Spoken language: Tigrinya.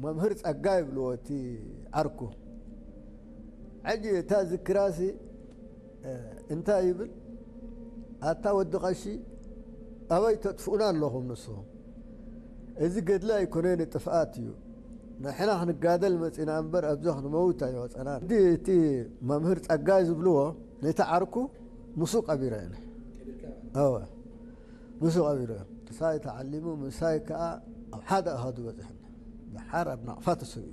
መምህር ጸጋ ይብልዎ እቲ ዓርኩ። ሕጂ እታ ዝክራሲ እንታይ ይብል? ኣታ ወዲ ቀሺ፣ ኣበይ ተጥፍኡና ኣለኹም ንስኹም? እዚ ገድሊ ኣይኮነን፣ ጥፍኣት እዩ። ንሕና ክንጋደል መጺና እምበር ኣብዛ ክንመውት ኣይወጸናን። እቲ መምህር ጸጋይ ዝብልዎ ነቲ ዓርኩ ምስኡ ቀቢረ እየ። እወ፣ ምስኡ ቀቢረ እየ። ምሳይ ተዓሊሙ፣ ምሳይ ከኣ ኣብ ሓደ ኣሃዱ በጺሕና። ደሓር ኣብ ናቕፋ ተሰዊኡ።